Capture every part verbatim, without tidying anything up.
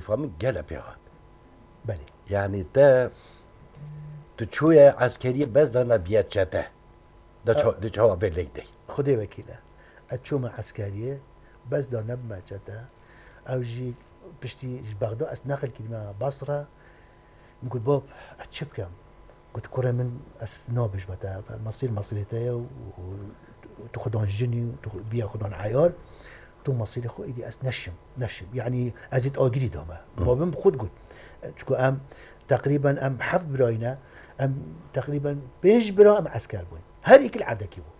Mexîfa min gele pê hat. Belê. Yanî te, tu çûye eskeriyê bes da nebiye çete. De ça-, de çawa vê lêk dey. Xwedê wekîle. Ez çûme eskeriyê, bes da nebime çete. Ew jî piştî ji Bexda ez neqil kirime Basra. Min got, "Bab, ez çi bikim?" Got, "Kurê min, ez nabêjme te, mesîr mesîrê te ye û, û tu xudan jinî û tu biya xudan eyar. Tu mesîrê xwe êdî ez neşim, neşim." Yanî ez ê agirî dame. Hı. Babim xwe digot. Çiko em teqrîben em heft birayî ne, em teqrîben pênc bira em esker bûn. Her êkî li erdekî bû.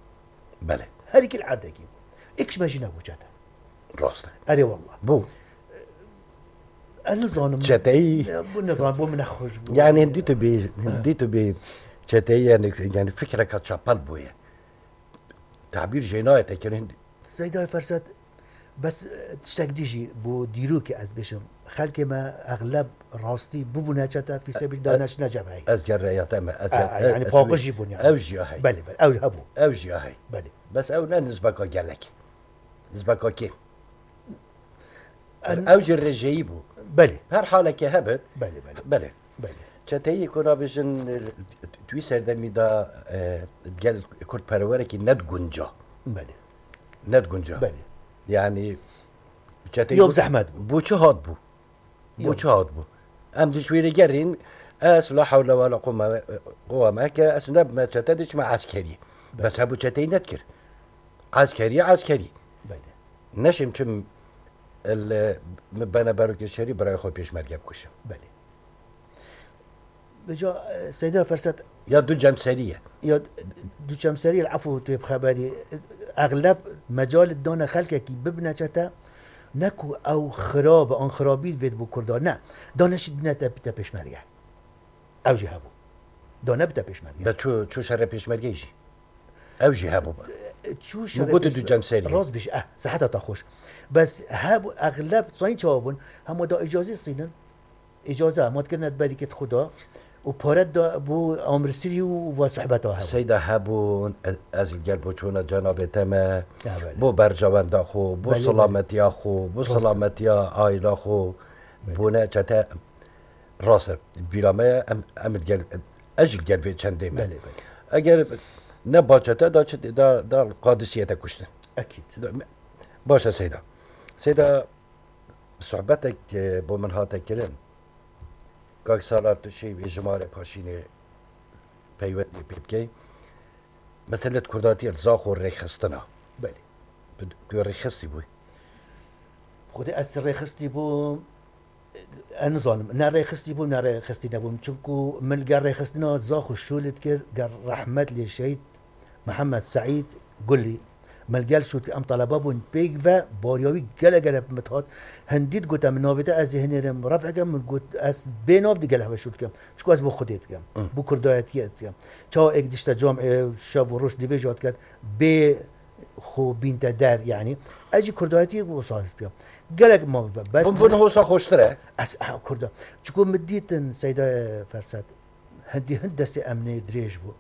Belê. Her êkî li erdekî bû. Êk ji me jî nebû çete. Rast e. Erê wallah. Bû. Ez nizanim. Çeteyî. Bu nizanim, bu min nexweş bû. Yani hindî tu bî, hindî tu bî çeteyî yani, yani fikreka çapel bûye. Tabîr jê nayê te kirin. Seyda Ferset, bes, e, tiştek dî jî bo dîrokê ez bêjim. Xelkê me exleb rastî bibûne çete, fî sebîl da neçine cebheyê. Ez gerreya te me, ez A, ger-, a, ez, yani ez paqij jî bûn yani. Ew jî ya hey. Belê, belê, ew hebû. Ew jî ya hey. Belê. Bes ew ne nizbeka gelek. Nizbeka kê? En- Ew jî rêjeyî bû. Belê. Her halekê hebit. Belê, belê. Belê. Belê. Çeteyî ku nabêjin, e, tu wî serdemî de, e, gel kurdperwerekî nedigunca. Belê. Nedigunca. Belê. Yani çeteyî Yok, bu, zehmet bû. Bu çi hat bû? Bu Yok. Çi hat bû? Em dijwêrê gerîn, ez la hewle wala quwwete, quwwete me ke ez nebime çete diçime eskerî. Belê. Bes hebû çeteyî nedikir. Eskerî, eskerî. Belê. Neşim çim el, e, min bene berokê şerî birayê xwe pêşmerge bikuşim. Belê. Vêca, e, Seyda Ferset Ya du cemserî ye. Ya du cemserî, efû tu yê bixeberî. Exleb mecal dane xelkekî bibine çete, ne ku ew xirab, an xirabî vê bo Kurda, ne. Dane şî bine te, te pêşmerge. Ew jî hebû. Dane bite pêşmerge. Be çû, çû şerê pêşmergeyê jî. Ew jî hebû. Çû Min şerê got pêşmer-, du cemserî ye. Rast bêjî, eh, seheta te xweş. Bes hebû, exleb sayîn çawa bûn, hema da îcazî sînin. Îcaze, hema dikirine berî ke xwe da. Û pare da bo amirsirî û va sohbeta hebû. Seyda hebûn, ez, ez li gel bo çûna cenabê te me, Ya belê. Bo berjewenda xwe, bo Belê, belê. Silametiya xwe, bo Rast e. Silametiya aîla xwe, Belê. Bûne çete. Rast e, bîra me ye, em, em li gel, ez jî li gel vê çendê me. Belê, belê. Eger ne ba çete da çi, da, da Qadisiyê te kuştin. Ekîd. Da, me, baş e Seyda. Seyda, sohbetek, e, bo min hate kirin. Kak Salar tu şî vê jimarê paşînê peywendî pê bikey. Meselê kurdatiyê li Zaxo rêxistina. Belê. Tu, tu rêxistî bû. Xwedê ez rêxistî bûm. Ez nizanim, ne rêxistî bûm, ne rêxistî nebûm. Çunku min li gel rêxistina Zaxo şûl dikir, gel rehmet lê şehîd Mihemed Seîd Gulî. Min li gel şûl dikir, em telebe bûn pêk ve, bariya wî gele gele bi min dihat. Hindî digote min navê te, ez ê hinêrim ref'eke, min got, ez bê nav di gel heve şûl dikim. Çunku ez bo Xwedê dikim. Hı. Bo kurdayetiyê dikim. Çawa êk dişte cam, e, şev û roj nivêja diket, bê xwe bînte der, yanî. Ez jî kurdayetiyê wisa his dikim. Gelek ma bibe. Bes Bûn, bûn hosa xweştir e. Ez, ha, kurda. Çiko min dîtin Seyda Ferset. Hindî hind destê emnê dirêj bû.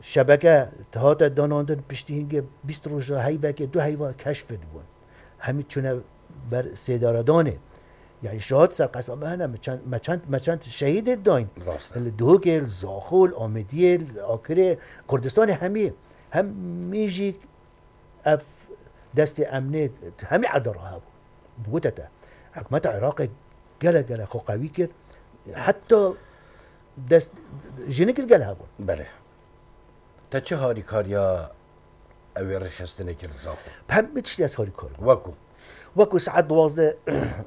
Şebeke hate danandin piştî hingê bîst roja heyvekê du heyva keşf dibûn. Hemî çûne ber sêdaredanê. Yani şahat ser qesa me hene, me çend, me çend, me çend şehîdê dayîn. Rast e. Li Duhokê, li Zaxo, li Amêdiyê, li Akirê, Kurdistanê hemî, hemî jî ev destê emnê hemî erda re hebû. Bigote te, hikûmeta Iraqê gelek gelek xwe qewî kir. Heta dest jinik li gel hebûn. Belê. Te çi harîkariya ew ê rêxistinê kir Zaxo? Hemî tiştî ez harîkar bûm. Wekû? Wekû saet duwazdeh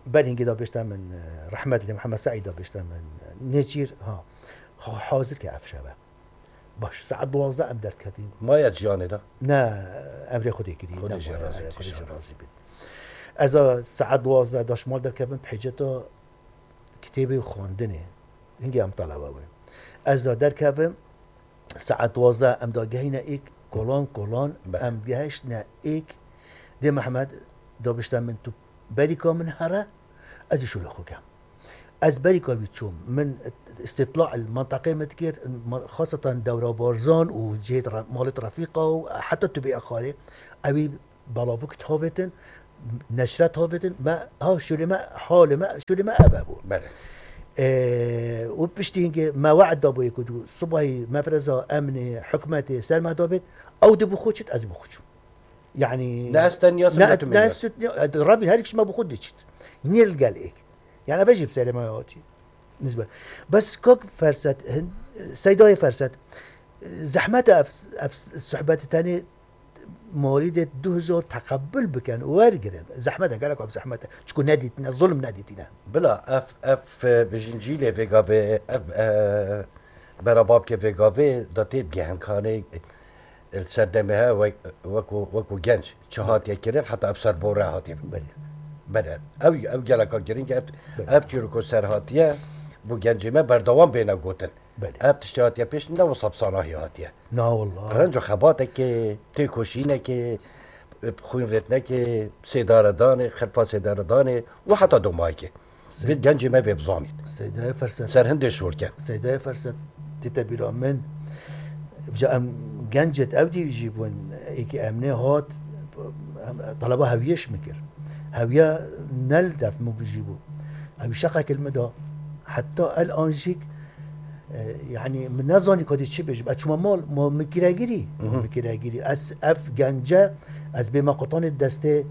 ber hingê da bêjte min, e, rehmet lê Mihemed Seîd da bêjte min, e, Nêçîr, ha, ha-, hazir ke ev şeve. Baş, saet duwazdeh em derketin. Maya ciyanê de? Ne, emrê Xwedê kirî, Xwedê ne jê maya, razî bî, Xwedê jê inşallah. Razî bî. Ez a saet duwazdeh da ji mal derkevim, bi hêceta kitêbê û xwendinê. Hingê em talebe bûn. Ez da derkevim, saet duwazdeh em da gehîne êk, kolan kolan, Be. Em gehiştine êk. Dê Mehmed da bişte min, tu berîka min here, ez ê şûlê xwe kem. Ez berîka wî çûm. Min îstîtla li menteqê min dikir, ma-, xaseten Dewra Barzan û cihê re-, malê Refîqa û heta tu bê Exarê, ewî belavik tavêtin, neşret havêtin, me ha şûlê me, halê me, şûlê me ev bû. Belê. Û piştî hingê me we'd dabûyê ku dû sibahî mefreza emnê, hikûmetê ser me dabêt, ew dê bi xwe çit, ez bi xwe çûm. Yani Ne ez tenya ne, ne ez tut-, ne, e, Rabîn her kişi me bi xwe diçit. Nî li gel êk. Yani eve jî bi serê me hatî. Nizbe. Bes kak Ferset, hin-, Seydayê Ferset, zehmet e ev, ev sohbetê tenê molîdê du hezar teqebul bikin û wergirin. Zehmet e, gelek ev zehmet e. Çiku nedîtine, zulm nedîtine. Bila ev, ev, e, bijin cîlê vê gavê, ev, e, berababkê vê gavê da tê bigehin kanê, e, li ser demê he wek-, wekû, wekû genc çi hatiye kirin, heta ev ser bore hatiye. Belê. Belê. Ev, ev geleka giring e, ev, Belê. ev çîroko ser hatiye, bo gencê me berdewam bêne gotin. Belê. Ev tiştê hatiye pêş ne wisa bi sanahî hatiye. Na wallah. Qezenc û xebatekê, têkoşînekê, xwînrêtinekê, sêdaredanê, xelfa sêdaredanê û heta domayekê. Vê gencê me vê bizanît. Seydayê Ferset. Ser hindê şolken. Seydayê Ferset, tête bîra min. Vêca em gencêt ew dî jî bûn, êkî emnê hat, em, taleba hewiyê ji min kir. Hewiya ne li def min bijî bû. Ew şeqek li min da. Heta el an jîk, e, yani min nezanî kadî çi bêjim. Ez çûma mal, ma min kiregirî. Ma Mhm. min kiregirî. Ez ev gence, ez bêma qutanê destê,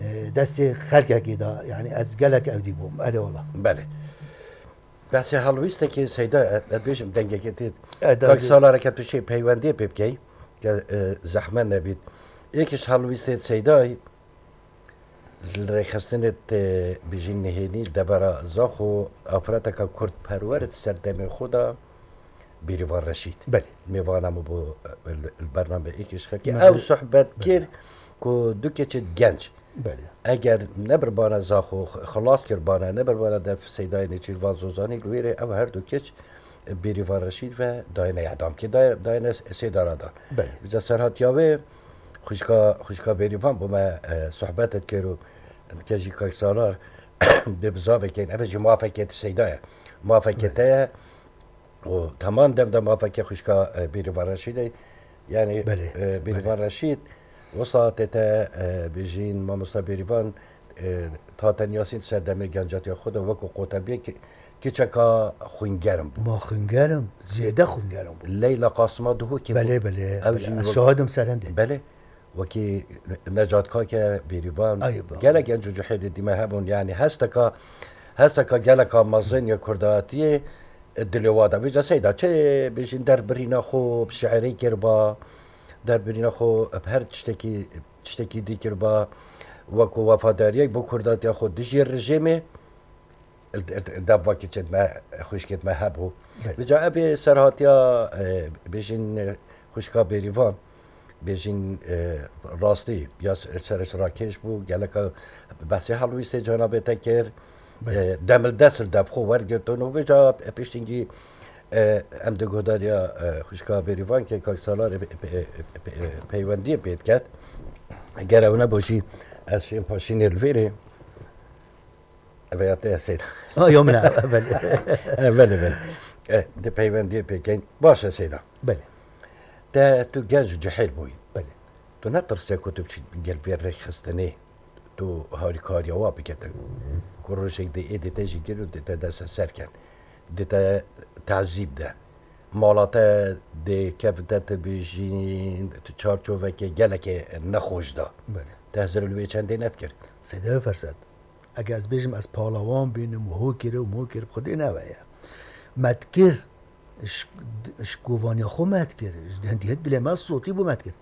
e, destê xelkekê de. Yani ez gelek ew dî bûm. Erê wala. Belê. Behsê helwîstekê Seyda, e, ez bêjim dengekê tê. E, Kak dazê. Salareke tu şey peywendiyê pê bikey, ke, e, zehmet nebît. Êkiş helwîstê Seydayê, Li rêxistinê tê bijîn nihênî devera Zaxo afreteka kurdperwer di ser demê xwe de Bêrîvan Reşîd. Belê. Mêvana min bû, e, li, li bername êkê ji xelkê. Belê. Ew sohbet kir Belê. ku du keçê genc Belê. eger nebirbane Zaxo, x-, xilas kirbane, nebirbane def Seydayê Nêçîrvan Zozanî, li wê rê ew her du keç Bêrîvan Reşîd ve dayine edamkê, day-, dayine sêdara dan. Belê. Vêca serhatiya wê xwişka, xwişka Bêrîvan bo me, e, sohbet dikir û dike jî Kak Salar dê bizavekên, ev jî mafekê di Seyda ye. Mafekê Belê. te ye û teman dem de mafekê xwişka, e, Bêrîvan Reşîd e. Yani, Belê, e, Bêrîvan belê. Reşîd, wisa tê te, e, bêjîn mamosta Bêrîvan, e, ta te niyasîn ser demê gencatiya xwe de wekû qotebiyê ki-, kiçeka xwîngerim bû. Ma xwîngerim, zêde xwîngerim bû. Leyla Qasima Duhokê bû. Belê, belê, Ew belê. jî Ez wek-, şahid im serendê. Belê. Wekî Necat Kake, Bêrîvan, Ay, ba. gelek genc û cihêdê dîme hebûn. Yani hesteka, hesteka geleka mezin ya Kurdatiyê, e, dilê wa de. Vêca Seyda çi bêjîn derbirîna xwe bi şiirê kirba, derbirîna xwe bi her tiştekî, tiştekî dî kirba, wekû wefadariyek bo Kurdatiya xwe dijî rejîmê, li, li, li dev vekî çêt me, xwişkêt me hebû. Belê. Vêca ev ê serhatiya, e, bêjîn, e, xwişka Bêrîvan, bêjîn, e, rastî ya s-, serişrakêş bû, geleka behsê helwîstê cenabê te kir, Belê. e, demildest li dev xwe wergirtin û vêca, e, piştîngî, e, em di guhdariya, e, xwişka Bêrîvan ke Kak Salar, e, pe-, e, pe-, e, peywendiyê pê diket. Ger ew nebû jî ez şêm paşînê li vêrê. Ev ya te ya Seyda. Ha, yo, min e, belê. E, belê, belê. E, di peywendiyê pêkeyn. Baş e Seyda. Belê. Te tu genc û cihêl bûyî. Belê. Tu netirse ku tu biçî gel vê rêxistinê, tu harîkariya wa bikete. Ku rojek dê êdî te jî gir û dê te deste ser ken. Dê te tezîb de. Mala te dê kevin te tu bijîn, tu çarçoveke gelekê nexweş da. Belê. Te hizir li wê çendê nedikir. Seyda Ferset. Eke ez bêjim ez palawan bînim û ho kir û mo kir, bi Xwedê ne we ye. Me dikir, ji, ji kovaniya xwe me dikir, ji hindî dilê me sotî bû me dikir.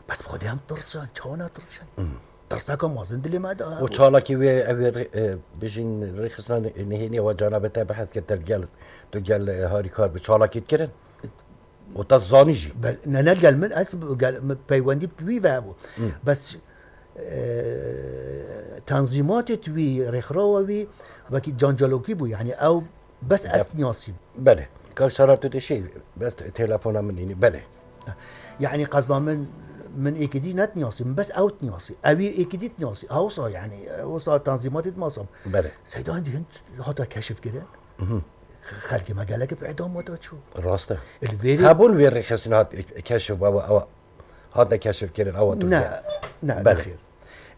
Bes bi Xwedê em tirsan, çawa netirsan? Hmm. Tirseka mezin dilê me de. Û çalakî wê, ew ê rê-, e, bêjin rêxistina nihênî wa cana be te behs kir, te gel, tu gel, e, harîkar bi çalakî dikirin? Û te zanî jî. Be-, ne, ne gel min, ez gel, min peywendî bi wî ve hebû. Hmm. Bes, e, tenzîmatê wî, rêxirawa wî, wekî cancalokî bû. Yani ew bes ez Yap. niyasîm. Belê. Kak Salar tu dişî, bes telefona min înî. Belê. Yani qezda min, min êkidî net niyasî, min bes ew niyasî. Ewî êkidî niyasî. Ha wisa yani, wisa tenzîmatê masam. Belê. Seyda hindî hin hata keşif kirin. Mhm. Xelkê me gelek bi îdam da çû. Rast e. Li vêrê Hebûn wê rêxistin hat keşif, ewa, ewa, hatine keşifkirin, ewa tu Ne, bûye. ne, Belê. nexêr.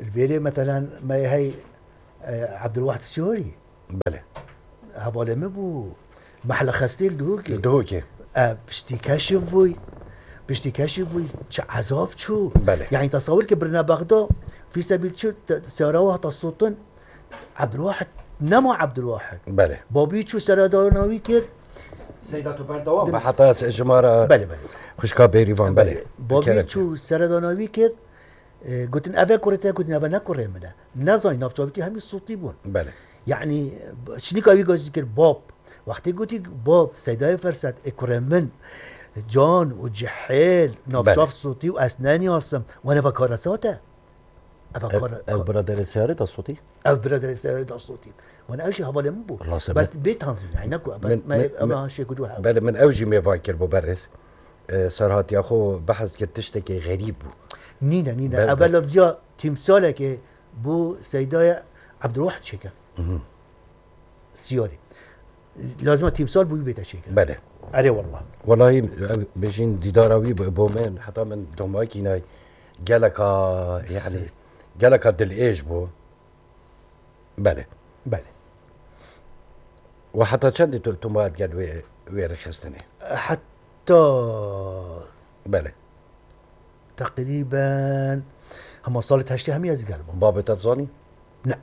Li vêrê, meselen, me hey, e, Ebdulwahid Siyarî. Belê. Hevalê min bû. Mehle Xestê li Duhokê. Li Duhokê. E, piştî keşif bûy. Piştî keşif bûy. Çi ezab çû. Belê. Yani, tesawir ke birine Bexda, fî sebîl çi, te-, seyara hata sotin. Ebdulwahid, nema Ebdulwahid. Belê. Babî çû seredana wî kir. Seyda, tu berdewam be, heta ji me re Belê, belê. Xwişka Bêrîvan, belê. Belê. Babî çû seredana wî kir. E, gotin, "Ev e kurê te?" Gotin, "Ev e ne kurê min e." Nezanî, navçavîtî hemî sûtî bûn. Belê. Yani, şinika wî gazî kir, "Bab." Wextê gotî, "Bab, Seydayê Ferset, ê kurê min, can û cihêl, navçav Belê. Sûtî û ez neniyasim." Wan eva kara sate. Eva Ev, kara, ev ka- biraderê Seyarê da sûtî? Ev biraderê Seyarê da sûtî. Wan ev jî hevalê min bû. Allah sebep. Bes bê tanzî, yani, ne ku, bes Min, me, min, ema min, şê ku du hev. Belê, min ew jî mêvan kir bo berêz. E, serhatiya xwe behs kir, tiştekî xerîb bû. Nîne, nîne. Ber-, Ev ber- lafziya tîmsalekê bû Seydayê Ebdulwahid çêke. Mhm. Siyarî. Lazim e tîmsal bûyî bête çêke. Belê. Erê wallah. Welahî, ev bêjîn dîdara wî bo, bo min, heta min domayekî nay geleka, yani, Sê. Geleka dilêj bû. Belê. Belê. Û heta çendî tu, tu ma gel wê, wê rêxistinê? Heta Belê. Teqrîben hema salê heştê hemî ez gel bûm. Babê te zanî? Ne.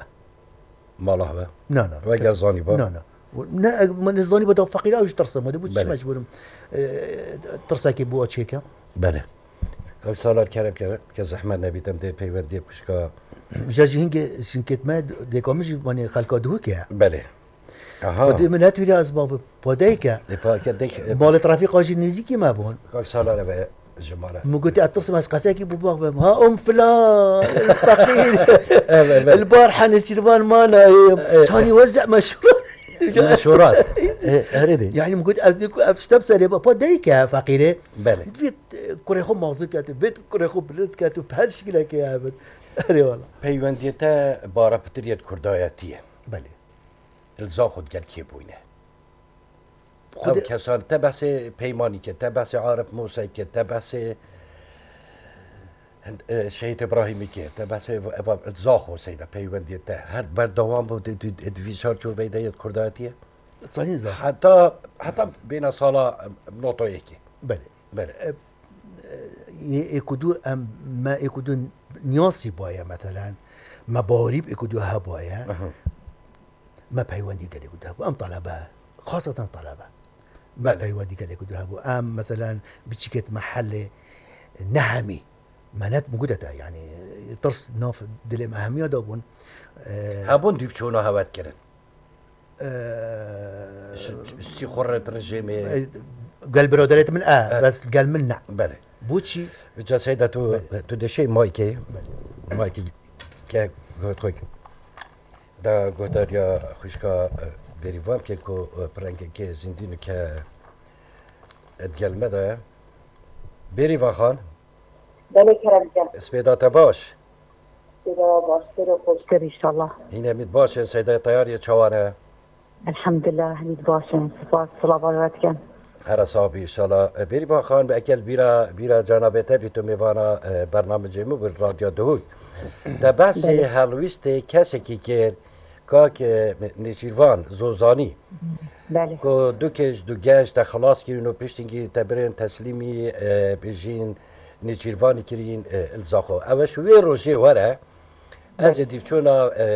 Mala we? Na, na. We gel zanî ba? Na, na. Ne, min zanî ba da feqîr ew ji tirsa me de bû, çi Belê. Mecbûrim. E, tirsekê bû çêke. Belê. Kak Salar, kerem ke, ke zehmet nebît, em dê peywendiyê pişka. Ja jî hingê, jinkêt me, dêka min jî, wanê xelka Duhokê ye. Belê. Aha. Xwedê min netwîre ez bavim. Padeyke. Ê, pa-, ke dek, e, Malê trafîka jî nêzîkî me bûn. Kak Salar eve ji me re. Min gotî, "Ez tirsim ez qesekî bo bavim." "Ha, um filan, feqîr." Evet, evet. "El bar henê sîrvan manayê." Evet. Tanî wezî meşhur. Meşhurat. E, erê de. Yani, min got, "Ev, ev ştem serê ba." Padeyke feqîrê. Belê. Vît, e, kurê xwe mazî ket, vît kurê xwe bilind ket û her şikilekê hebin. Erê wala. Peywendiyê te bara pitiriyê kurdayetî ye. Belê. Li Zaxo gel kê bûyne? Xwedê Ev kesan, te behsê Peymanî kir, te behsê Arif Musayî kir, te behsê Hind-, e, Şehîd Îbrahîmî kir, te behsê eva, eva Zaxo Seyda peywendiyê te. Her berdewam bû di, di, di vî çarçoveyê de yê kurdayetiyê? Sayın Zaxo. Heta, heta bêne sala, e, nota yekê. Belê. Belê. E, e, yê êkudu em, me êkudu niyasî baye, metelen, me bawerî bi êkudu hebaye. Aha. Me peywendî gelê ku hebû. Em talebe, xaseten talebe. Me Belê. Peywendî gelê ku hebû. Em, metelen, biçîkêt mehellê ne hemî. Me net min gude te, yani, tirs nav dilê me hemiya da bûn. E, Hebûn dîvçûna hewet kirin. Ee, Ji, ji xwe re di rejêmê. Gel biraderêt min e, Evet. Bes gel min ne. Belê. Boçî? Vêca Seyda tu, Belê. Tu dişê maykê, Belê. Maykê ke got xwe. Da guhdariya xwişka, e, Bêrîvan ke ku, e, pirengekê zindî nûke, e, digel me de. Bêrîvan Xan. Belê kerem ke. Spêda te baş. Sêra baş, sêra xweştir inşallah. Hîn hemîd baş in, Seyda Teyariyê çawan e? Elhamdulillah, hemîd baş in. Spas, silav we dikin. Here sax bî inşallah. E, Bêrîvan Xan, bi ekel bîra, bîra canavê te bî, tu mêvana, e, bernamecê min bû, Radyo Duhok. Te behsê Belê. Helwîstê kesekî kir, kak, e, Nêçîrvan Zozanî. Belê. Ku du keç, du genç te xilas kirin û piştî te birin teslîmî, e, bijîn Nêçîrvanî kirîn, e, li Zaxo. Ew e ji wê rojê were, ez Belê. Ê dîvçûna, e,